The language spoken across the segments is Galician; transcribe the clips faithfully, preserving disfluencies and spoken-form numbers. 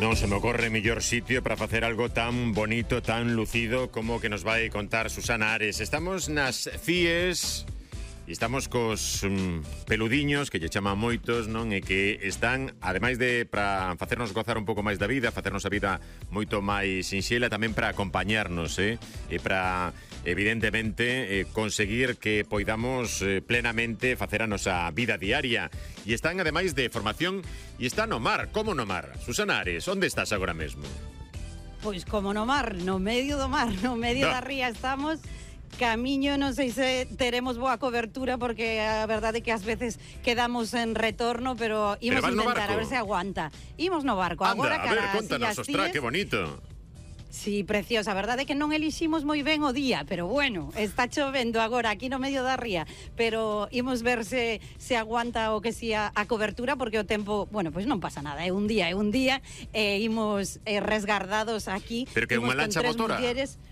Non se me ocorre mellor sitio para facer algo tan bonito, tan lucido como que nos vai contar Susana Ares. Estamos nas CIES e estamos cos um, peludiños que lle chaman moitos, non? E que están, ademais de para facernos gozar un pouco máis da vida, facernos a vida moito máis sinxela, tamén para acompañarnos, eh? E para, evidentemente, eh, conseguir que poidamos eh, plenamente facer a nosa vida diaria. E están, ademais de formación, e está no mar. Como no mar? Susana Ares, onde estás agora mesmo? Pois como no mar, no medio do mar, no medio no. da ría estamos. Camiño, non sei se teremos boa cobertura porque a verdade é que ás veces quedamos en retorno, pero imos pero intentar a ver se aguanta. Imos no barco. Anda, agora a ver, contanos, ostra, que bonito. Sí, preciosa, a verdade é que non eliximos moi ben o día, pero bueno, está chovendo agora aquí no medio da ría, pero imos ver se, se aguanta o que si a, a cobertura, porque o tempo, bueno, pois pues non pasa nada, é un día, é un día, e eh, imos eh, resgardados aquí. Pero que é unha lancha motora? Mulleres.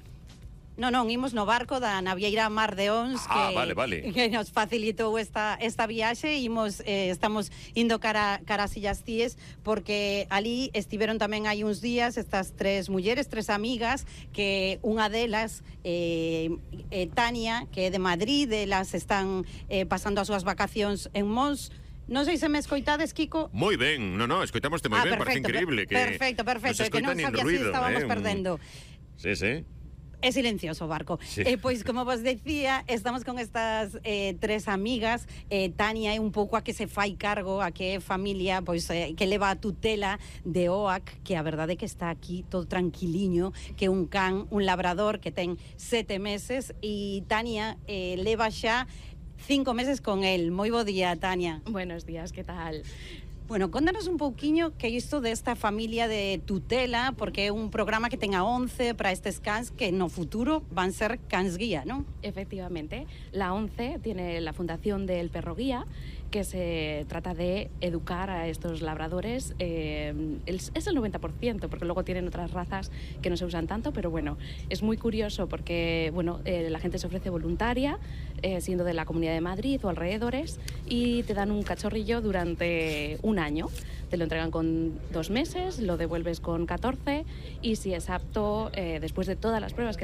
Non, non, imos no barco da navieira Mar de Ons ah, que, vale, vale. que nos facilitou esta, esta viaxe. Imos, eh, estamos indo cara, cara a Sillas Cíes porque ali estiveron tamén hai uns días estas tres mulleres, tres amigas, que unha delas, eh, eh, Tania, que é de Madrid, elas están eh, pasando as súas vacacións en Mons. Non sei se me escoitades, Kiko. Moi ben, non, non, escoitamos moi ah, ben, perfecto, parece increíble que perfecto, perfecto, que non sabía se estábamos eh? perdendo. Sí, sí. É silencioso o barco. Sí. Eh, pois, como vos decía, estamos con estas eh, tres amigas. eh, Tania é un pouco a que se fai cargo, a que é familia, pois eh, que leva a tutela de O A C, que a verdade é que está aquí todo tranquiliño, que é un can, un labrador que ten sete meses, e Tania eh, leva xa cinco meses con el. Moi bo día, Tania. Buenos días, que tal? Bueno, contanos un pouquiño que é isto desta familia de tutela, porque é un programa que ten a once para estes cans que no futuro van ser cans guía, ¿no? Efectivamente, la once tiene la fundación del perro guía, que se trata de educar a estos labradores. Eh, es el noventa por ciento, porque luego tienen otras razas que no se usan tanto, pero bueno, es muy curioso porque bueno, eh, la gente se ofrece voluntaria, eh, siendo de la Comunidad de Madrid o alrededores, y te dan un cachorrillo durante un año. Te lo entregan con dos meses, lo devuelves con catorce, y si es apto, eh, después de todas las pruebas que